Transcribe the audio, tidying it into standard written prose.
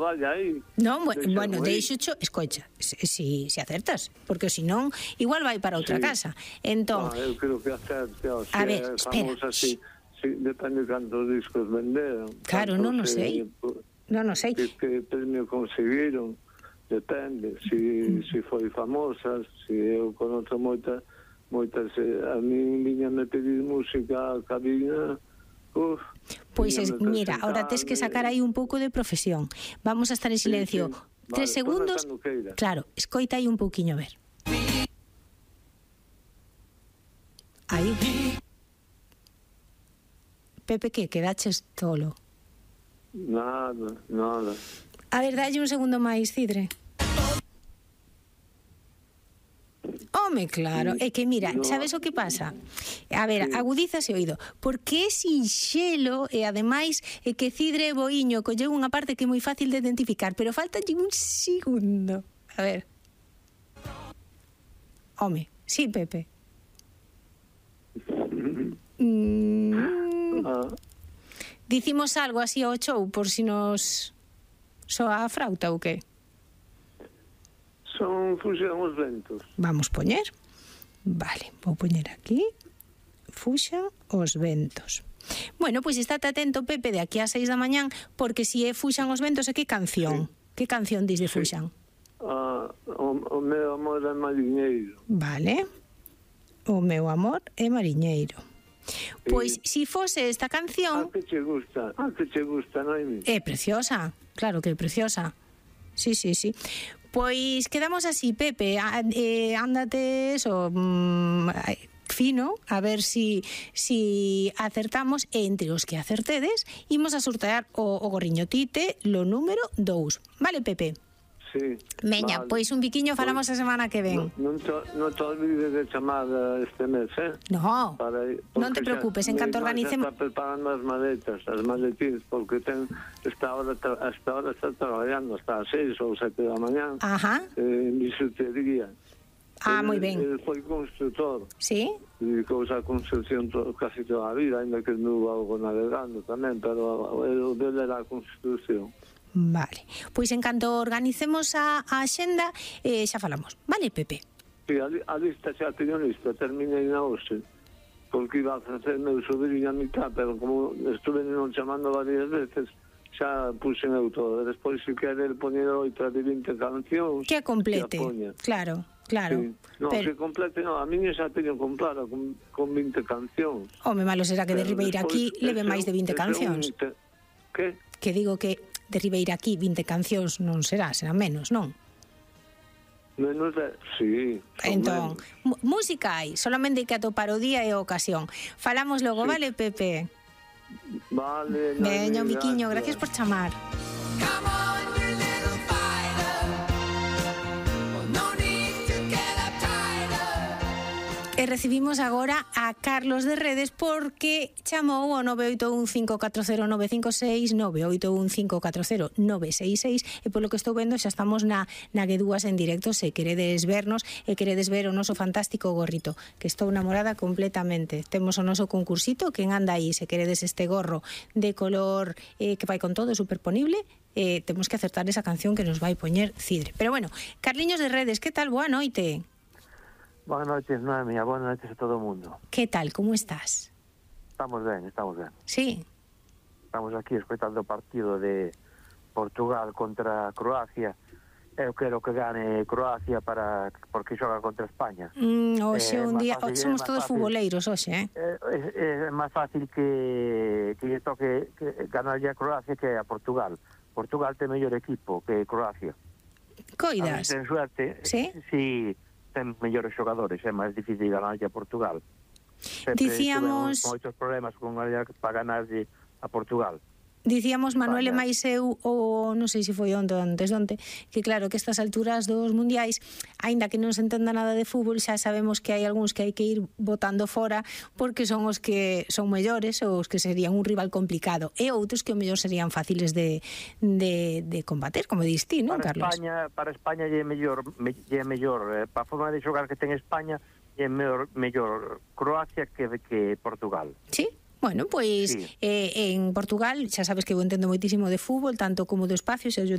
vaya aí. Non, bueno, deixocho, escoita, si acertas, porque senón igual vai para outra casa. Entón, eu creo que acerte, a ver, espera. Así, depende de cantos discos venderon. Claro, non o sei. Non o sei. Que premio conseguiron, depende. Si foi famosa, si eu conozco moitas, a mí viñame pedir música a cabina. Pois mira, ahora tes que sacar aí un pouco de profesión. Vamos a estar en silencio 3 segundos. Claro, escoita aí un pouquiño, a ver. Aí. Pepe, que quedaches tolo? Nada. A ver, dalle un segundo máis, Cidre. Home, claro, é que mira, sabes o que pasa? A ver, agudízase o oído, porque é sinxelo e ademais é que Cidre Boiño colleu unha parte que é moi fácil de identificar, pero faltalle un segundo. A ver. Home, sí, Pepe. Dicimos algo así ao show por si nos soa a frauta ou que? Son Fuxan os ventos. Vamos poñer. Vale, vou poñer aquí. Fuxan os ventos. Bueno, pois estate atento, Pepe, de aquí a 6 da mañán, porque si é Fuxan os ventos, é que canción? Que canción dis de Fuxan? O meu amor é mariñeiro. Vale. O meu amor é mariñeiro. Pois, si fose esta canción... que che gusta, Noemi? É preciosa, claro que é preciosa. Sí. Pois quedamos así, Pepe, ándate eso, fino, a ver si acertamos, e entre os que acertedes, imos a sortear o gorriño Tite, lo número 2. Vale, Pepe? Sí. Meña, vale. Pois un biquiño falamos a semana que ven. Non te olvides de chamar este mes, No, non te preocupes, en canto organicemos... Está preparando as maletines, porque esta hora está traballando hasta as 6 ou 7 da mañán en bisutería. Moi ben. Ele foi constructor. Sí? Dedicouse a construcción casi toda a vida, ainda que anduvo algo navegando tamén, pero o dele era a construcción. Vale, pois en canto organicemos a axenda xa falamos, vale, Pepe? Sí, a lista xa teño lista, terminei na hoxe, porque iba a facer meu sobrinho a mitad, pero como estuve non chamando varias veces, xa puxen eu todo. Despois, se quere, poñer 8 de 20 cancións, que complete, claro. Sí. No, pero... se complete, no, a miña xa teño comprada con 20 cancións. Home, malo será que de Ribeira aquí leve máis de 20 cancións. Que? Que digo que de Ribeira aquí 20 cancións non será menos, non? Menos de... Sí. Entón, música hai, solamente hai que atopar o día e a ocasión. Falamos logo, vale, Pepe? Vale. Veña, un biquiño, gracias por chamar. E recibimos agora a Carlos de Redes porque chamou o 981540956 981540966 e polo que estou vendo xa estamos na Guedúas en directo. Se queredes vernos e queredes ver o noso fantástico gorrito, que estou namorada completamente. Temos o noso concursito, quen anda aí, se queredes este gorro de color que vai con todo, superponible, temos que acertar esa canción que nos vai poñer Cidre. Pero bueno, Carliños de Redes, que tal? Boa noite. Buenas noches, Noemi, buenas noches a todo o mundo. Que tal, como estás? Estamos ben. Sí. Estamos aquí escoitando o partido de Portugal contra Croacia. Eu quero que gane Croacia porque xoga contra España. Hoxe un día, somos todos futboleiros hoxe, É máis fácil que lle toque ganarlle a Croacia que a Portugal. Portugal ten mellor equipo que Croacia. Coidas? Ten suerte. Sí? Sí. Ten mellores xogadores, é máis difícil ganarlle a Portugal. Dicíamos moitos problemas para ganarlle a Portugal. Dicíamos Manuel e máis eu, ou non sei se foi onte, que claro que estas alturas dos mundiais, aínda que non se entenda nada de fútbol, xa sabemos que hai algúns que hai que ir botando fora porque son os que son mellores ou os que serían un rival complicado, e outros que o mellor serían fáciles de combater, como dis ti, non, Carlos? Para España lle é mellor para a forma de xogar que ten España é mellor Croacia que Portugal. Sí. Bueno, pois sí. En Portugal xa sabes que eu entendo moitísimo de fútbol, tanto como do espacio, xa eu